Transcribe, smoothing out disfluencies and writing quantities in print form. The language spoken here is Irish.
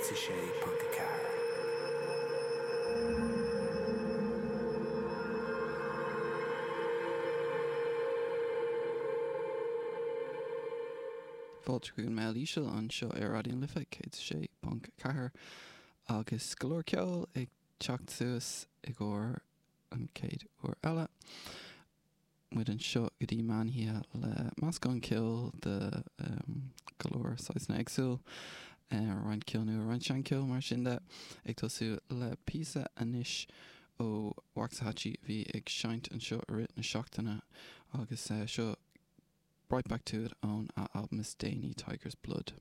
106.4. Fáilte chuig an Meitheal Íseal anseo ar Raidió na Life 106.4 agus go leor ceoil ag teacht suas i gcomhair an chéad uair eile. Muid anseo go dtí meán oíche le meascán ceoil de go leor saghsanna éagsúil, roinnt ceoil nua, roinnt seancheoil mar sin de. Ag tosú le píosa anois ó Waxahatchee a bhí ag seinnt anseo i rith na seachtaine agus seo Right Back To It ón a albam is déanaí Tiger's Blood.